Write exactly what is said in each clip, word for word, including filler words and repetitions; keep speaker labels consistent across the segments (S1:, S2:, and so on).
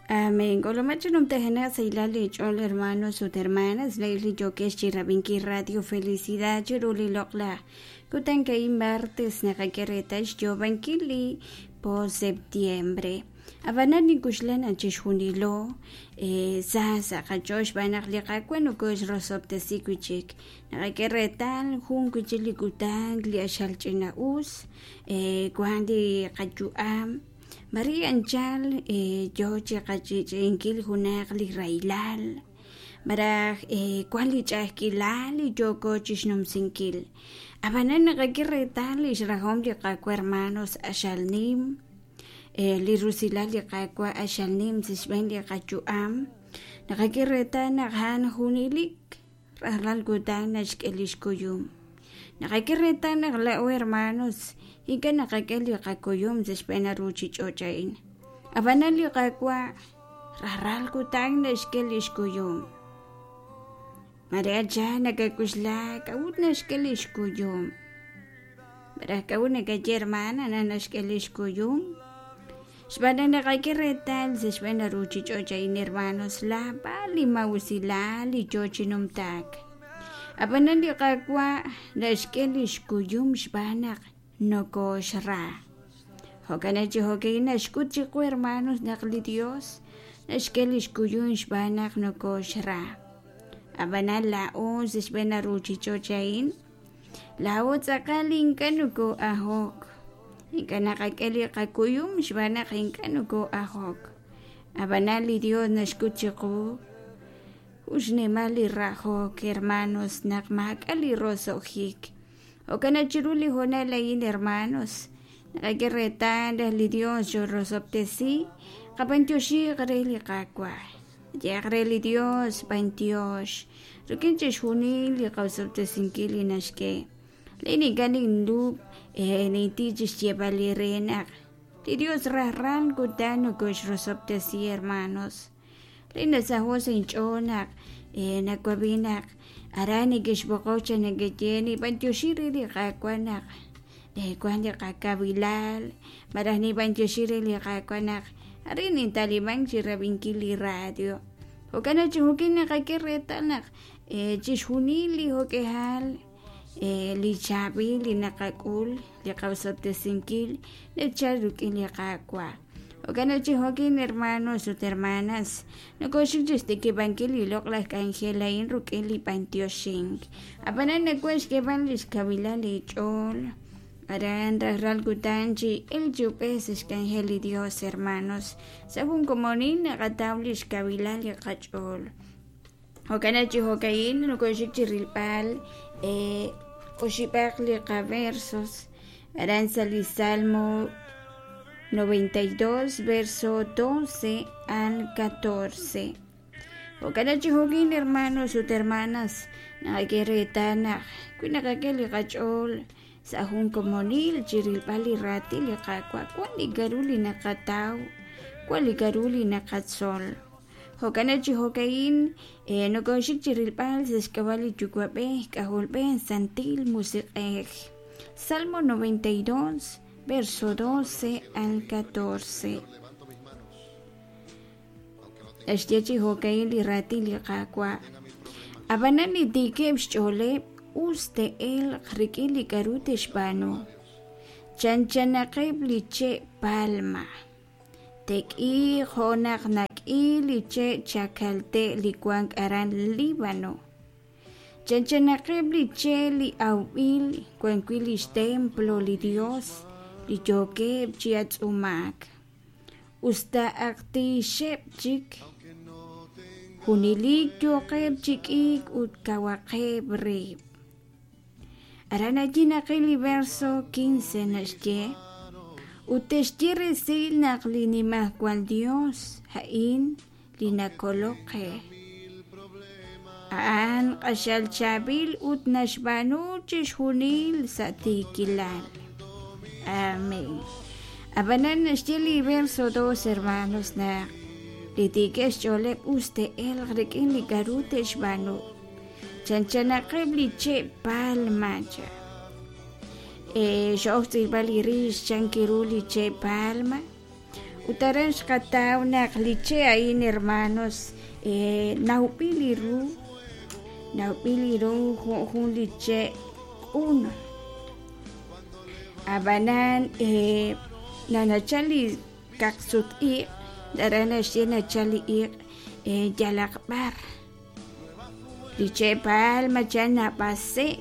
S1: Amén. K'ulumachi numtajenaq sa' hilal li ch'ool hermanos ut hermanas le'il li yokex chi rab'inkil Radio Felicidad chiru li loq'laj kutan ka'in martes naqak'e reetal xyoob'ankil li po septiembre. Ab'anan ninkuxlan chixjunilo eh, sa sa' qach'ool xb'aan naq li Qaawa' nokoxrosob'tesi wi'chik naqak'e reetal jun wi'chik li kutan li axal ch'ina'us eh, wan li qayu'am Maria anchal eh, yo chi qach'ich'inkil junaq li rahilal maraj eh, wan li ch'a'ajkilal li yooko chixnumsinkil ab'anan naqak'e reetal li xrajom li Qaawa' hermanos axal nim eh, li rusilal li Qaawa' axal nim sa' xb'een li qayu'am naqak'e reetal naq a'an junelik rajlal kutan naxk'e li xkuyum naqak'e reetal naq la'o hermanos ink'a' naqak'e li qakuyum sa' xb'een ruuchich'och' a'in ab'anan li Qaawa' rajlal kutan naxk'e li xkuyum Maria cha nakakuxla k'a'ut naxk'e li xkuyum maraj k'a'ut nakaye hermana naq naxk'e li xkuyum xb'aan naq naqak'e reetal sa' xb'een ruuchich'och' a'in hermanos laab'al li mawusilal li yoo chi numtaak ab'anan li Qaawa' naxk'e li xkuyum xb'aan naq nokoxra jo'kan chi jo'kan naxk'ut chiqu hermanos naq li Dios naxk'e li xkuyum xb'aan naq nokoxra ab'anan la'o sa' xb'een ruuchich'och' a'in la'o tz'aqal ink'a' noko'ajok ink'a' naqak'e li qakuyum xb'aan naq ink'a' noko'ajok ab'anan li Dios naxk'ut chiqu xnimal li rajok hermanos naq maak'a' li roso'jik jo'kan chiru li hoonal a'in hermanos naqak'e reetal li Dios xorosob'tesi qab'antioxiq re li Qaawa' yeq re li Dios b'antiox rik'in chixjunil li qasob'tesinkil li naxk'e lin ink'a' ninlub' eh, ninti chixyeeb'al li re naq li Dios rajlal kutan nokoxrosob'tesi hermanos lin nasaho' sa' inch'ool naq eh, nawab'i naq aran nekexb'oqok cha nekeye nib'antioxi re li Qaawa' naq eh, wan li qakabilal maraj nib'antioxi re li Qaawa' naq arin nintaliman chi rab'inkil li radio jo'kan chi jo'kan naqak'e reetal naq eh, chixjunil li jo'k'ehal eh, li chaab'il li naqak'ul li qasob'tesinkil nachal rik'in li Qaawa' jo'kan chi jo'kan hermanos ut hermanas nokoxik chixtikib'ankil li loq'laj k'anjel a'in rik'in li b'antioxink ab'anan nawan xk'eeb'al li xkawilal li ch'ool aran rajlal kutan chi el chub'ej sa' xk'anjel li Dios hermanos sa' jun komonil naqataw li xkawilal li qach'ool jo'kan chi jo'ka'in nokoxik chi rilb'al eh, oxib'aq li qaversos aran sa' li Salmo noventa y dos verso doce al catorce jo'kan chi jo'kin hermanos ut hermanas naqak'e reetal naq wi naqak'e li qach'ool sa' jun komonil chi rilb'al li raatin li Qaawa' wan li k'a'ru li naqataw wan li k'a'ru li naqatzol jo'kan chi jo'ka'in eh, nokoxik chi rilb'al sa' xk'ab'a' li Yuwa'b'ej K'ajolb'ej Santil Musiq'ej Salmo noventa y dos verso doce al catorce naxye chi jo'ka'in li raatin li Qaawa' ab'anan li tiikeb' xch'ooleb' us te'elq rik'in li k'a'ru te'xb'aanu chanchanaqeb' li che' palma tek'iiq jo' naq nak'i li che' chakalte' li wank aran Líbano chanchanaqeb' li che' li awb'il wan wi' li xtemplo li Dios li yookeb' chi atz'umaak usta aqtiixeb' chik junelik yooqeb' chi k'iik ut kawaqeb' rib' aran allí naqil li verso quince naxye ut texye resil naq li nimajwal Dios a'in li nakolok qe a'an q'axal chaab'il ut naxb'aanu chixjunil sa' tiikilal amén ab'anan naxye li verso dos hermanos naq li tiikeb' xch'ooleb' us te'elq rik'in li k'a'ru te'xb'aanu chanchanaqeb' li che' palma cha eh, xo'oj tz'ilb'al li rix chankiru li che' palma Ut aran xqataw naq li che' a'in, hermanos, eh, nawb'il li ru, nawb'il li ru jo' jun li che' q'un. Ab'anan eh, nanachal li kaqsut-iq', aran naxye nachal li iq' eh, yalaq b'ar. Li che' palma chan nab'ase',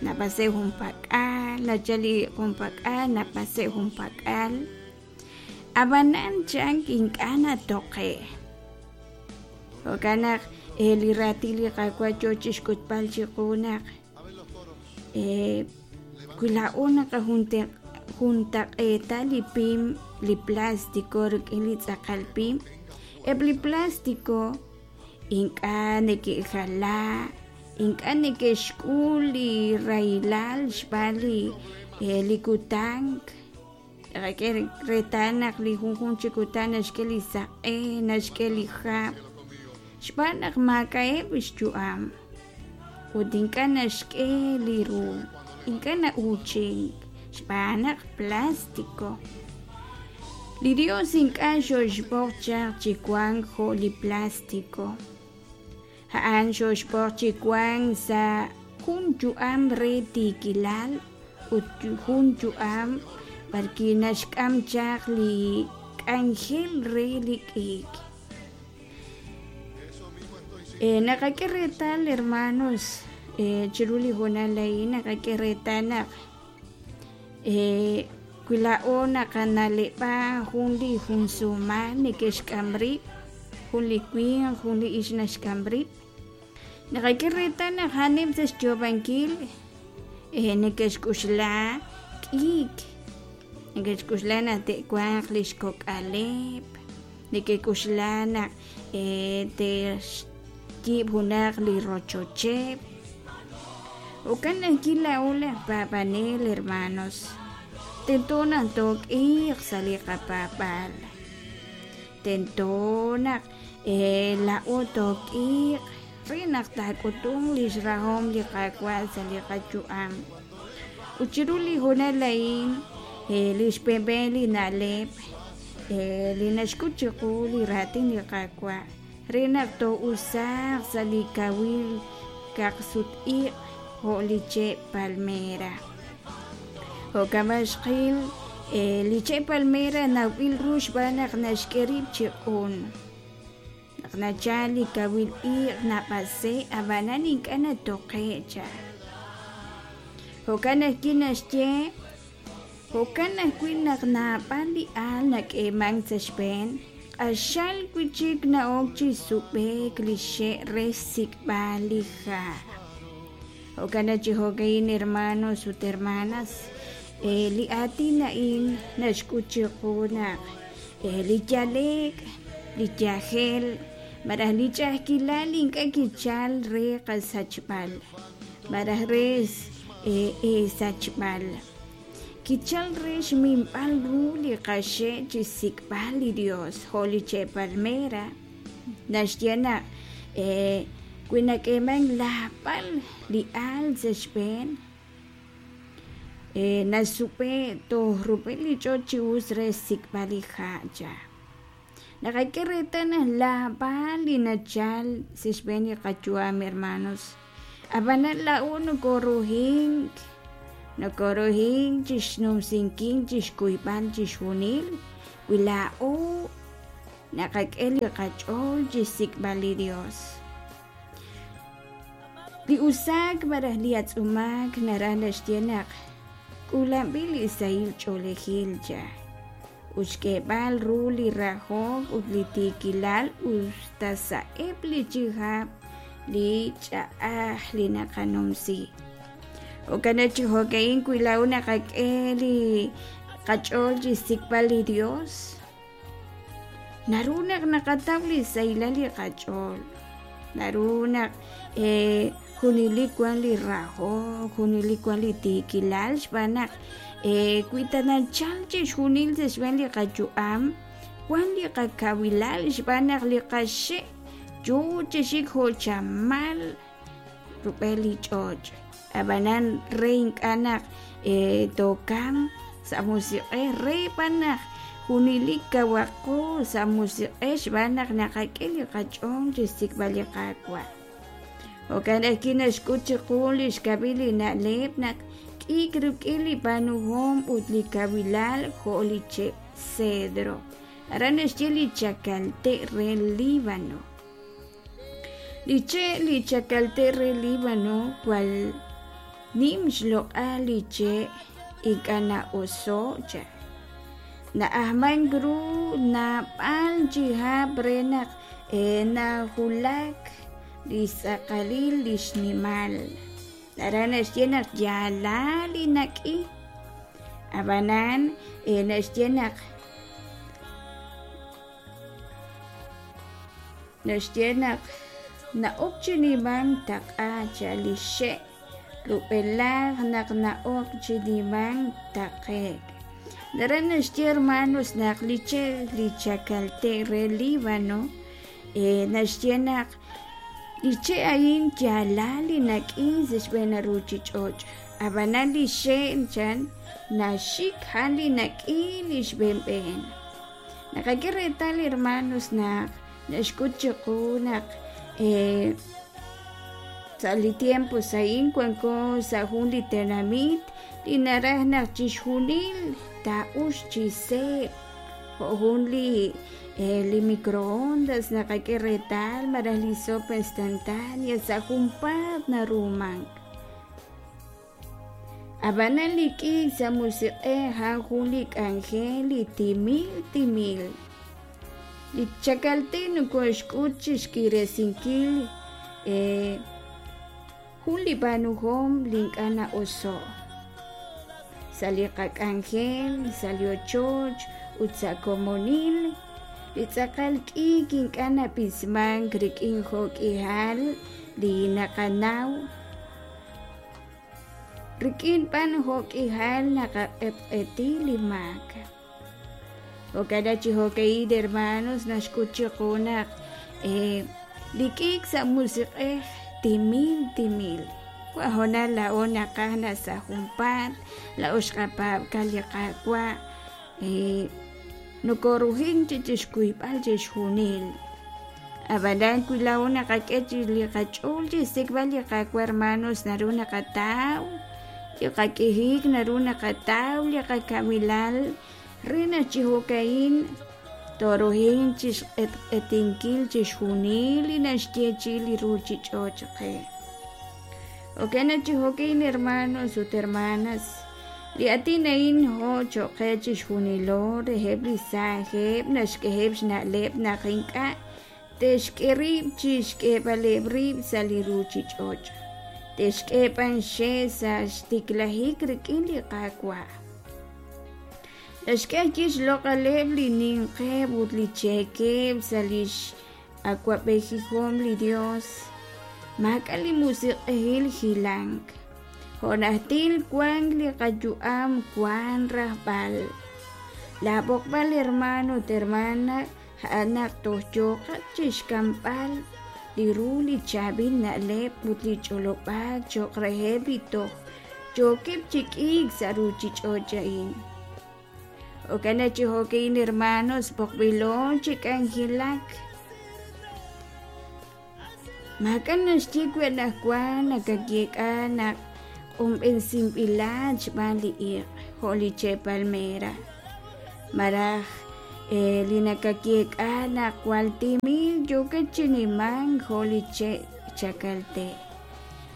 S1: nab'ase' junpak'al, nachal li junpak'al, nab'ase' junpak'al. Ab'anan chan ink'a' natoqe'. Jo'kan naq eh, li raatin li Qaawa' yoo chixk'utb'al chiqu naq eh, wi laa'o naqajuntaq'eeta li pim, li plástico rik'in li tz'aqal pim, eb' li plástico ink'a' neke'jala, ink'a' neke'xk'ul li rahilal xb'aan li eh, li kutan. Naqak'e reetal naq li junjunq chi kutan naxk'e li saq'e, naxk'e li hab', xb'aan naq maak'a'eb' xyu'am ut ink'a' naxk'e li ru, ink'a' na'uuchink xb'aan naq plástico. Li Dios ink'a' xoxb'oq chaq chi wank jo' li plástico. A'an xoxb'oq chi wank sa' jun yu'am re tiikilal ut jun yu'am b'arwi' naxk'am chaq li k'anjel re li k'iik. Eh, naqak'e reetal, hermanos, eh, chiru li hoonal a'in naqak'e reetal naq eh, wi laa'o naqana'leb'a jun li junsuumal neke'xk'am rib', jun li winq, jun li ixq naxk'am rib', naqak'e reetal naq a'aneb' sa' xyoob'ankil eh, neke'xk'uxla k'iik, neke'xk'uxla naq te'wanq li xkok'aleb', neke'k'uxla naq eh, te'xyiib' junaq li rochocheb'. Jo'kan ajwi' laa'o laj paab'anel, hermanos, tento naq took'iiq sa' li qapaab'aal. Tento naq eh, laa'o took'iiq re naq taak'utunq li xrahom li Qaawa' sa' li qayu'am. Ut chiru li hoonal a'in, eh, li xb'een li na'leb' eh, li naxk'ut chiqu li raatin li Qaawa' re naq too'usaaq sa' li kawil kaqsut-iq' jo' li che' palmera. Jo'kan b'an xqil eh, li che' palmera nawb'il ru xb'aan naq naxk'e rib' chi q'un. Naq nachal li kawil iq' nab'ase', ab'anan ink'a' natoqe' cha. Jo'kan ajwi' naxye, jo'kan ajwi' naq naab'al li aal nak'eemank sa' xb'een, q'axal wi' chik na'ok chi sub'e'k li xe' re xsik'b'al li ha'. Jo'kan naq chi jo'ka'in, hermanos ut hermanas, eh, li aatin a'in naxk'ut chiqu naq eh, li yale'k, li yajel, malaj li ch'a'ajkilal ink'a' kichal re qasachb'al, malaj re eh, eesachb'al. Kichal re xminb'al ru li qaxe' chi xsik'b'al li Dios, jo' li che' palmera. Naxye naq eh, wi nak'eemank laab'al li aal sa' xb'een, eh, nasub'e' toj rub'el li ch'och' chi us re xsik'b'al li ha' cha. Naqak'e reetal naq laab'al li nachal sa' xb'een li qayu'am, hermanos, ab'anan laa'o nokoruhink, nokoruhink chixnumsinkil, chixkuyb'al chixjunil, wi laa'o naqak'e li qach'ool chixsik'b'al li Dios. Li usaak malaj li atz'umaak naraj naxye naq k'uulanb'il li sahil ch'oolejil cha ut xk'eeb'al ru li rahok ut li tiikilal usta sa'eb' li chihab' li ch'a'aj li naqanumsi. Jo'kan naq chi jo'ka'in wi laa'o naqak'e li qach'ool chi xsik'b'al li Dios, naru naq naqataw li sahilal li qach'ool, naru naq eh, junelik wan li rahok, junelik wan li tiikilal xb'aan naq eh, wi ta nachal chixjunil sa' xb'een li qayu'am, wan li qakawilal xb'aan naq li qaxe' yoo chi xik jo' chamal rub'el li ch'och'. Ab'anan re ink'a' naq eh, tookamq sa' musiq'ej, re b'an naq Junelik kawaqo sa' musiq'ej xb'aan naq naqak'e li qach'ool chi xsik'b'al li Qaawa'. Jo'kan ajwi' naxk'ut chiqu li xkab'il li na'leb' naq k'iik rik'in li b'aanuhom ut li kawilal jo' li che' cedro. Aran naxye li chakalte' re Líbano. Li che' li chakalte' re Líbano jwal nim xloq'al li che' ink'a' na'oso' cha. Na'ajmank ru naab'al chi hab' re naq najulak li xtz'aqalil li xnimal. Aran naxye naq yaalal li nak'i. Ab'anan naxye naq naxye naq na'ok chi nimank taq'a cha li xe' rub'elaj naq na'ok chi nimank taqe'k. Aran naxye hermanos naq li che' li chakalte' re Líbano naxye naq li che' a'in yaalal li nak'i sa' xb'een ruuchich'och'. Ab'anan li xe' chan naxik a'an li nak'i li xb'eenb'een. Naqak'e reetal hermanos naq naxk'ut chiqu naq sa' li tiempo a'in wanko sa' jun li tenamit li naraj naq chixjunil taa'ux chi seeb' jo' jun li li microondas naqak'e reetal malaj li sopa instantánea sa' junpaat narumank. Ab'anan li k'iik sa' musiq'ej a'an jun li k'anjel li timil timil. Li chakalte' nokoxk'ut chi xk'iresinkil jun li b'aanuhom li ink'a' na'oso'. Sa' li qak'anjel, sa' li ochoch ut sa' komonil, li tz'aqal k'iik ink'a' nab'ismank rik'in jo'k'ihal li naqanaw. Rik'in b'an jo'k'ihal naqaq'etq'eti li maak. Jo'kan chi jo'ka'in hermanos naxk'ut chiqu naq li k'iik sa' musiq'ej timil timil. Wa laa'o naqaj naq sa' junpaat laa'o xqapaab'ka li Qaawa' nokorujin chi chixkuyb'al chixjunil. Ab'anan wi laa'o naqak'e chi li qach'ool chi xsik'b'al li Qaawa' hermanos naru naqataw li qak'ijik naru naqataw li qakawilal re naq chi jo'ka'in torujin chi xq'etq'etinkil chixjunil li naxyeechi'i li ruuchich'och' qe. Jo'kan chi jo'ka'in hermanos ut hermanas li aatin a'in jo' cho'q qe chixjunilo reheb' li saajeb' naxk'eheb' xna'leb' naq ink'a' te'xk'e rib' chi xk'eeb'aleb' rib' sa' li ruuchich'och'. Te'xk'e b'an xe' sa' xtiklajik rik'in li Qaawa'. Naxk'e ajwi' xloq'aleb' li ninqeb' ut li cheekeb' sa' li x'awab'ejihom li Dios. Maak'a' li musiq'ejil hilank. Jo' najtil wank li qayu'am wank rajb'al. Laab'oqb'al hermano ut hermana a'an naq toj yooqat chi xk'amb'al li ru li chaab'il na'leb' ut li ch'olob'aak cho'q reheb' li toj yookeb' chi k'iik sa' ruuchich'och' a'in. Jo'kan chi jo'ka'in hermanos b'oqb'ilo chi k'anjelak. Maak'a' naxye wi anaqwan nakayeek'a naq q'unb'ensinb'ilat xb'aan li iq' jo' li che' palmera. Malaj li nakayeek'a naq jwal timil yookat chi nimank jo' li che' chakalte'.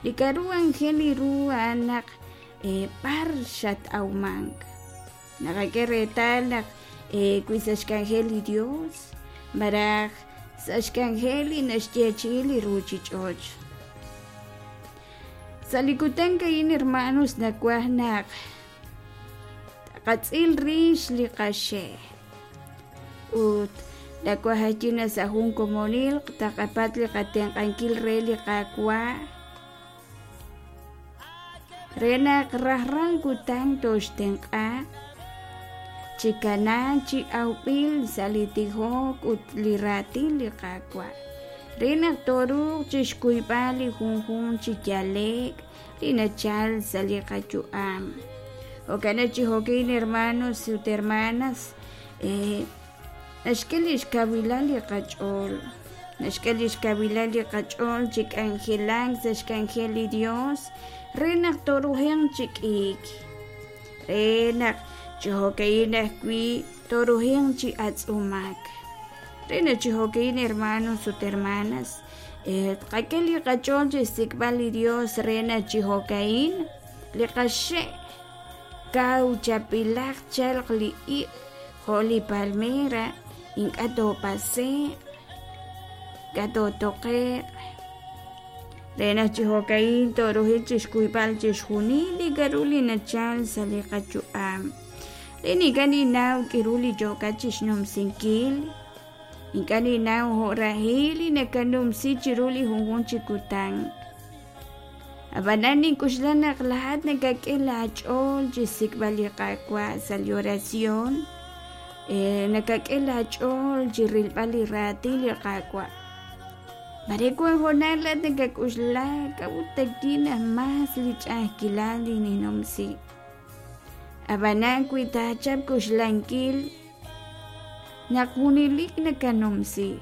S1: Li k'aru anjel li ru a'an naq b'ar xat'awmank. Naqak'e reetal naq wi sa' xk'anjel li Dios malaj sa' xk'anjel li naxyeechi'i li ruuchich'och'. Sa' li kutan a'in hermanos nawaj naq taqatz'il rix li qaxe' ut nawaj ajwi' naq sa' jun komonil taqapat li qatenq'ankil re li Qaawa' re naq rajlal kutan toxtenq'a chi kanaak chi awb'il sa' li tijok ut li raatin li Qaawa' re naq toruuq chixkuyb'al li junjunq chi yale'k li nachal sa' li qayu'am. Jo'kan chi jo'ka'in hermanos ut hermanas Naxk'e lix kawilal li qach'ool, naxk'e lix kawilal li qach'ool chi k'anjelank sa' xk'anjel li Dios re naq tooruhanq chi k'iik, re naq chi jo'ka'in ajwi' tooruhanq chi atz'umak. Re naq chi jo'ka'in hermanos ut hermanas, tqak'e li qach'ool chi xsik'b'al li Dios re naq chi jo'ka'in li qaxe' kaw chapilaq chalq li iq' jo' li palmera ink'a' toopase'q, ink'a' tootoqe'q. Re naq chi jo'ka'in tooruhil chixkuyb'al chixjunil li k'a'ru li nachal sa' li qayu'am. Re ink'a' ninnaw k'a'ru li yookat chixnumsinkil, ink'a' ninnaw jo' rahil li nakanumsi chiru li junjunq chi kutan. Ab'anan nink'uxla naq laa'at nakak'e laach'ool chixsik'b'al li Qaawa' sa' li oración, nakak'e laach'ool chi rilb'al li raatin li Qaawa'. Mare wan hoonal laa'at nakak'uxla k'a'ut takin naq mas li ch'a'ajkilal li ninumsi. Ab'anan wi taachap k'uxlankil naq junelik nakanumsi,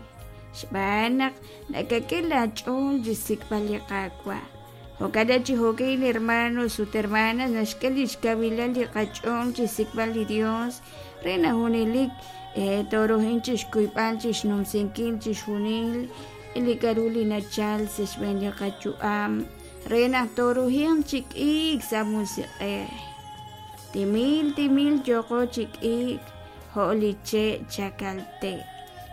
S1: xb'aan naq nakak'e laach'ool chixsik'b'al li Qaawa'. Jo'kan chi jo'ka'in hermanos ut hermanas naxk'e lix kawilal li qach'ool chixsik'b'al li Dios re naq junelik tooruhanq chixkuyb'al chixnumsinkil chixjunil li k'a'ru li nachal sa' xb'een li qayu'am re naq tooruhanq chi k'iik sa' musiq'ej. Timil timil yooqo chi k'iik jo' li che' chakalte.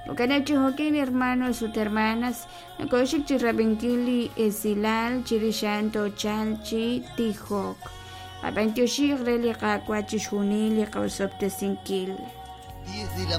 S1: Jo'kan naq chi jo'ka'in hermanos ut hermanas nakoxik chi rab'inkil li esilal chirix a'an toochalq chi tijok. Qab'antioxij re li Qaawa' chixjunil li qa'osob'tesinkil.
S2: diez de la